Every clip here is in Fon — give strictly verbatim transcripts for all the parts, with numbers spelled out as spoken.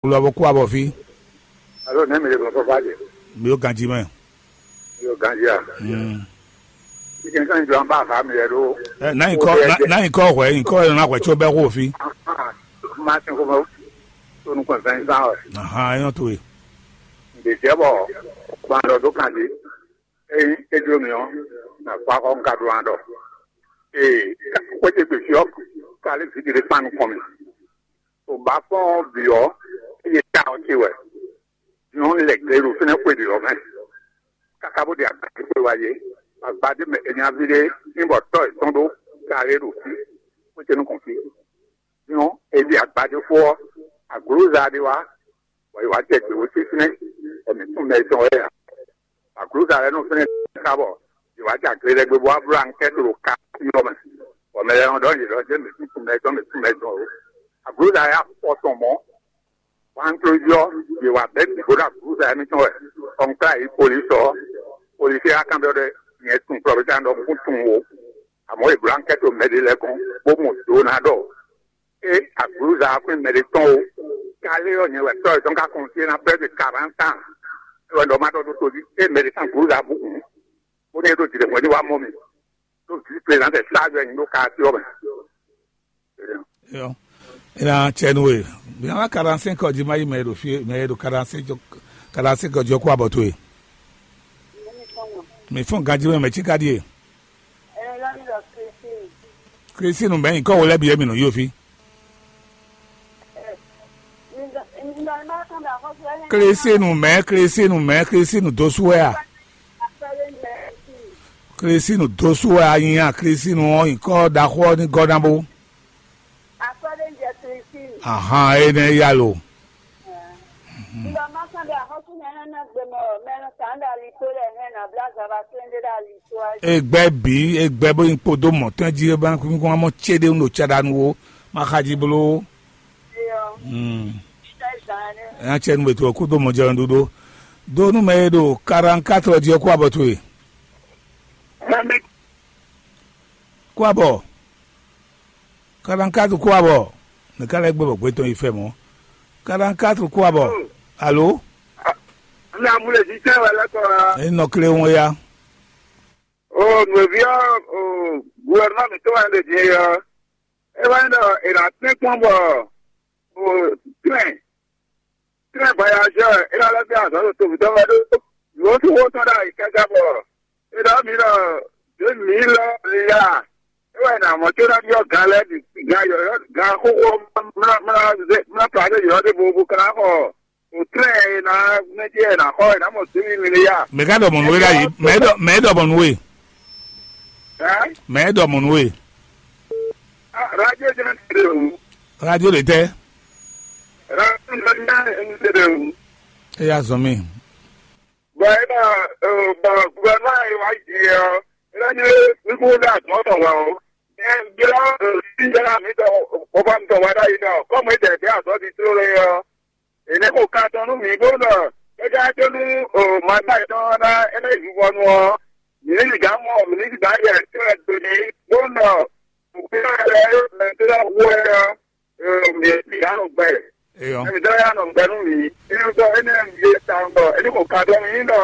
Wlɔ bó kú abɔ fí. Alo nɛ mi le gbɔn fɔfɔ adé. Mi yóò ganjí mɛ. Mi yóò ganjí a. Mm. Mi kì í kàn jọ an bá a fa mi yɛ ɖó. Ɛ, n'a yi kɔ, n'a yi kɔ hwɛ, yi kɔ yɛ na hwɛ tso bɛ xo fi. Ma ti ko mo. To nu kɔn fɛn san wɛ. Ahan, e nyɔ to ye. Nde jɛ bɔ kpan dɔ do kan di. Eyi e dlo mi ɔ, na fa kɔ n ka do an dɔ. Ee, ko te gbe fi ɔ, k'ale vi de kpan nukɔn mi. O ba fɔn bi ɔ, eye ta ɔ ti wɛ. Nyɔnu lɛ gbe ɖo fínɛ́ xwe ɖě ɔ́ mɛ, káká bó ɖe agbadé xwe wá yé. Agbadé mɛ è nya ví ɖé ní bɔ tɔ́ yětɔn ɖó karé ɖo fí, xwé ce nukɔn fí. Nyɔnu è ɖi agbadé fó ɔ́, aglǔza ɖé wá, bɔ è wǎ jɛ gběwó sín fínɛ́, bɔ mǐ tún mɛ tɔn wɛ ǎ. Aglǔza lɛ́ɛ nɔ fínɛ́ ká bɔ è wǎ jɛ agle lɛ́ɛ gbe bó wá bló ankɛ́ ɖo ka ɔ́ mɛ, bɔ mɛ lɛ́ɛ nɔ ɖɔ yě ɖɔ jɛ mǐ tún mɛ tɔn, mǐ tún mɛ tɔn o. Aglǔza lɛ́ɛ afɔ tɔn mɔ̌. Wǎntlójí ɔ́, yě wá bɛ́ bǐ bó ɖo aglǔza émítɔn wɛ, kɔnklá yě yi polisɔ́ ɔ́, polisí ɔ́ wá kanbyɔ́ ɖɔ nyɛ tunwun plɔ́bíta ɖɔ un kún tunwun ó, amɔ̌ yě bló ankɛ́to mɛ ɖé lɛ́ɛ gɔ́n, bó mɔ do ná ɖɔ é aglǔza ɔ́ xwín mɛ ɖé tɔn ó. Kálé ɔ́, nyɛ wɛ tɔ́ yětɔn ka kɔn fí é ná bɛ́ gbe karantán, é wɛ ɖɔ má ɖɔ ɖó tojí é mɛ ɖé tɔn aglǔza bú hǔn, bónú é ɖo jǐɖɛ̌mɔ̌ ní wá mɔ mì, ɖó vǐ prezidɛ́ntɛ sáájú wɛ nyí ɖó kaasí ɔ́ mɛ. Yɔ. Ina cɛnu e. Bia wa quarante cinq ɔdi ma yi mɛ ɖo fie mɛ ɖo quarante cinq quarante cinq ɔdi ɔkɔ abɔ to e. Mi fún ganji mɛ mɛ tsi ka ɖie. Kristinu mɛ nyikɔ wo lɛ bi emi nɔ yi ofi. Kristinu mɛ Kristinu mɛ Kristinu dosu wɛ a. Kristinu dosu wɛ a nyi a Kristinu ɔ́ nyikɔ ɖaxó ɔ́ ní gɔ́ ná bó. Ahan, énɛ́ ya lo. Egbɛ bǐ egbɛ bó nyi kpódó mɔ̌tɛn jí é bá kún kún mɔ céɖénu ɖo caɖanu ó, ma xa jí bló. Nya cɛ nu bɛ to ɔ kú dó mɔ jɛ ɖuɖu dó nú mɛ e ɖo quarante-quatre jí ɔ́ kú abɔ towe. Kú abɔ. Quarante-quatre kú abɔ. Ne ka lɛ́ gbé bɔ gbé tɔn yi fɛ mɔ̌. Quarante-quatre kú abɔ. Alo. Ní amúlẹ̀sí tẹ́ wà lẹ́kọ̀ọ́. Èyí nɔ kléwɔn ya. O nùbí ɔ, o guvɛrɛnɛma mǐtɔn wà lè dín é ɔ́. É wá nyí ɖɔ è nǎ tɛ́n kpɔ́n bɔ o tɛ́n tɛ́n vayazɔ́ è nǎ lɛ́ fí azɔ̌ ɖo tomitɔ́ wɛ ɖó. Yǒ sú xó tɔn ɖo ayǐ káká bɔ è ɖɔ mǐ ɖɔ ɖě mǐ lɔ ya. É wɛ è nǎ mɔ có ná byɔ́ gan lɛ́ɛ bǐ gan yɔ̌yɔ́ gan xóxó mlá mlá mlá to adé yɔ̌yɔ́ ɖěvo bó ka ná xɔ. Òtrɛ́ɛ e ná mɛ jɛ ná xɔ e ná mɔ zǐnmi mi ní ya. Mɛ ka ɖɔ mɔ̌ nú we ɖ'ayǐ? Mɛ ɖɔ mɛ ɖɔ mɔ̌ nú we? Ɛ? Mɛ ɖɔ mɔ̌ nú we? Radio jẹ́ ti de o. Radio de tɛ? Radio jẹ́ ti de o. E ya zɔn mi. Bɔn e na bɔn guvɛrɛnɛma yi wá yi ɔ, e na nyɛ wíwú ní àtúntò wá o. Ɛ gbéra sí yàrá mi tɔ bɔbɔ mi tɔ wá ɖ'ayǐ nɔ, kɔmi e dɛ dɛ azɔ di tló lé ɔ. Ènɛ́ kò ka tɔn nú mǐ bó nɔ kɛ́kɛ́ tó nú mǎgbá yětɔn ɔ́ ná é ná yi vivɔnu ɔ́, mǐ ní sixá mɔ mǐ ní sixá yɛ tɛ́ do ní bó nɔ nǔkpɛ́nɔ lɛ́ɛ mɛ tó ná hu wɛ ɔ́, mǐ ní sixá nɔ gbɛ. Eyɔ. Mǐ tɔ́ yá nɔ gbɛ nú mǐ. Énɛ́ tɔ́ énɛ́ mǐ é tawun bɔ é ní kò ka tɔn mǐ nɔ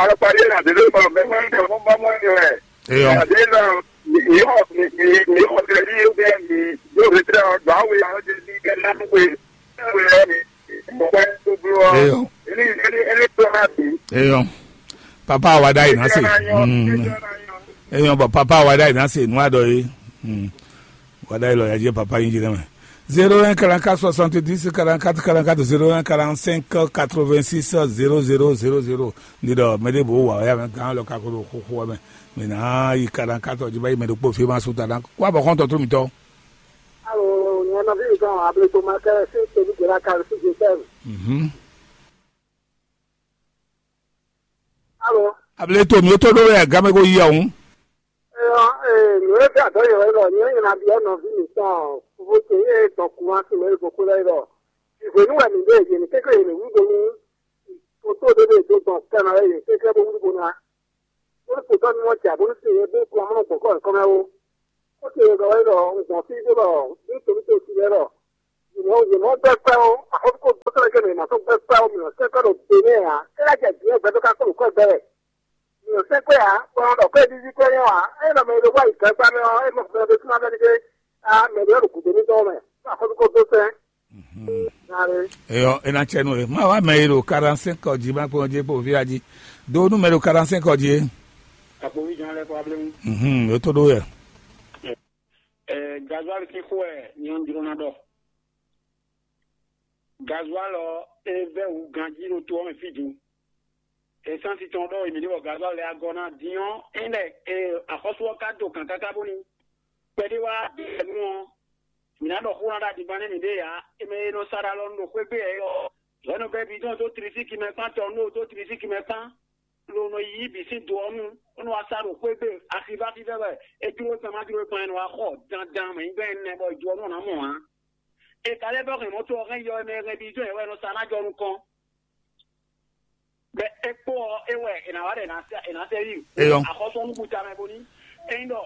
alɔkpa ɖé nà dé lé bɔ mɛ mɔ ní mɔ mɔ ní wɛ. Eyɔ. Nà dé nɔ mǐ xɔ mǐ mǐ xɔ tɛ́ ní yóò bẹ́ẹ̀ mǐ yóò fi tẹ́lẹ̀ ɔ́ dɔ̌ awe ɔ́ dé ní kẹ́ ná nú we. Eyɔ. Eyɔ. Papa wa da yi na se. Mm. Eyɔ, bɔ papa wa da yi na se nu adɔ ye. Mm. Wa da yi lɔ ya jɛ papa yin jɛ mɛ. Zéro un quarante-quatre soixante-dix quarante-quatre quarante-quatre, zéro un quarante-cinq quatre-vingt-six zéro zéro zéro zéro. Ni dɔ mɛ de bo wa ya mɛ gan lɔ ka ko do xoxo mɛ. Mɛ na yi quarante-quatre ji ba yi mɛ do kpo fi ma su ta dan. Kwa bɔ kɔntɔ to mi tɔ. Alo, nyɛ nɔví mi tɔn Ableto Marcel sí Tony Guerra Carlos Joseph. Mhm. Alo. Ableto mi tó ɖó wɛ game ko yi ɔhún. Ee, ee, nǔ e fí adɔ̌ yě wɛ ɖɔ nyɛ nyɛ ná byɔ́ nɔví mǐtɔn fofó ce e dɔn kúnwá sín mɛ e gbɔn xwé lɛ́ɛ ɖɔ. Vǐvwě nú wɛ mǐ ɖe yě ní kéké yě ní wú do nú toto ɖé ɖe do dɔn kɛnɔ wɛ yě kéké bó wú bo ná. Bónú kpotɔ́ ní wọ́n jɛ bónú sin yě bó kplɔ́n mɔ́ gbɔ̌ kɔ́ yětɔn mɛ ó. Xó ce e ɖɔ wɛ ɖɔ un gbɔn fí bó ɖɔ ní tonítosi lɛ́ɛ ɖɔ Yě mɔ yě mɔ gbɛ́ kpɛ́ ó, axɔ́súkɔ dó sɛ́lɛ́ kɛ mɛ yě ma sɔ́ gbɛ́ kpɛ́ ó, mǐ nɔ sɛ́ kpɛ́ ɖo Benin ǎ. É ná jɛ jǐ wɛ gbɛdó ká kpó nǔ kɔ gbɛ wɛ. Mǐ nɔ sɛ́ kpɛ́ ǎ, bɔ ɔ́ ɖɔ kpɛ́ ɖiɖi kpɛ́ nyɔ́ ǎ. É nɔ mɛ e ɖo wá yi gbɛgbá mɛ ɔ́, é mɔ gbɛ ɖé súnmọ́ bɛ́ ɖé. Á mɛ ɖé ɔ́ ɖo gǔdo mítɔn mɛ, bɔ axɔ́súkɔ dó sɛ́. Eyɔ, é ná cɛ nú we. Má wá mɛ e ɖo quarante-cinq ɔ́ jí, má kpɔ́n jí kpo fí a jí. Do nú mɛ e ɖo quarante-cinq ɔ́ jí é. Akpovi jɔn lɛ kɔ ablému. Mhm, yě tó ɖó yɛ. Ɛ, gazuali sín xó wɛ nyɔnu jló ná ɖɔ. Gazuali ɔ́, é vɛ́ wǔ ganjí ɖo to ɔ́ mɛ fí din. Esansi tɔn ɖɔ mǐ ɖe bɔ gazuali lɛ́ɛ agɔ ná din ɔ́, é lɛ e axɔ́sú ɔ́ ka do kàn káká bóni kpɛɖé wá ɖe nu ɔ́, mǐ ná ɖɔ xó ná ɖo adigban nɛ́ mǐɖée ǎ. É mɛ e nɔ sa ɖo alɔ nu ɖo xwé gbe ɛ ɔ́, hwɛ̌ nɔ bɛ́ bidɔn dó tlisíki mɛ kpán tɔ nú dó tlisíki mɛ kpán, lo nɔ yí bǐ sín do ɔ́ nu, bó nɔ wá sa ɖo xwé gbe axivá fívɛ́ wɛ. É jló gbɛn má jló gbɛn ɛ nɔ wá xɔ dandan mɛ nyí gbɛn ɛnɛ bɔ do ɔ́ nɔ ná mɔ ǎ. È ka lɛ́ vɛ́ hɛn mɔ̌ to ɔ́ hɛn yɔ mɛ hɛn bidɔn ɛ wɛ è nɔ sa ná jɔ nukɔn. Bɛ é kpó ɔ́, é wɛ è nǎ wá ɖɔ è nǎ sɛ è nǎ sɛ yí. Eyɔ. Axɔ́sú ɔ́ nú búta mɛ bóní. Ényí ɖɔ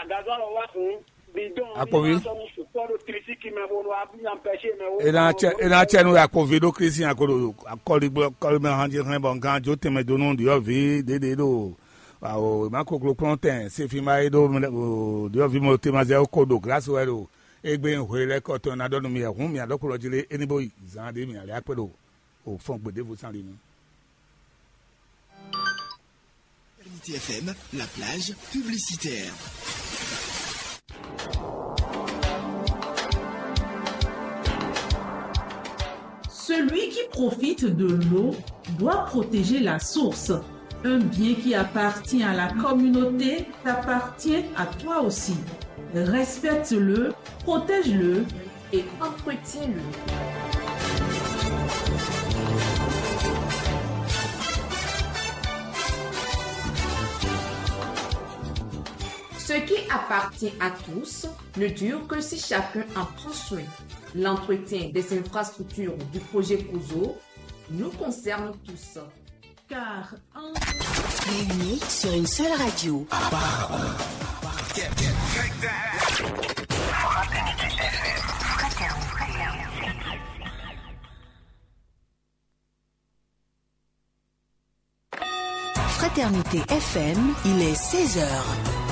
gazɔ́ lɔ wá hǔn, bidɔn Akpovi. Sɔ́ nú sukpɔ́ ɖo tlisíki mɛ bó nɔ wá nya pɛ́sí mɛ wó. È nǎ cɛ è nǎ cɛ nú akpovi ɖó Kristi ako ɖo akɔligbɔ kɔlimɛ hàn jí hɛn bɔ nkan jó tɛnmɛ dó nú ɖyɔ̌vǐ ɖěɖě ɖo awo má koklo kplɔ́n tɛn sefi má é ɖó ɖyɔ̌vǐ mo temazɛ ko ɖo glasi wɛ ɖo égbé hwe lɛ́ kɔ tɔn ná ɖɔ nú mi hǔn mì aɖɔkplɔ jí lé é ní bó yi zan ɖé mì alɛ akpé ɖo o fɔn gbe ɖěvo sán ɖi nu. T F M, la plage publicitaire. Celui qui profite de l'eau doit protéger la source. Un bien qui appartient à la communauté t'appartient à toi aussi. Respecte-le, protège-le et entretiens-le. Ce qui appartient à tous ne dure que si chacun en prend soin. L'entretien des infrastructures du projet Kozo nous concerne tous. Car un... Réunis sur une seule radio. Fraternité F M, il est seize heures.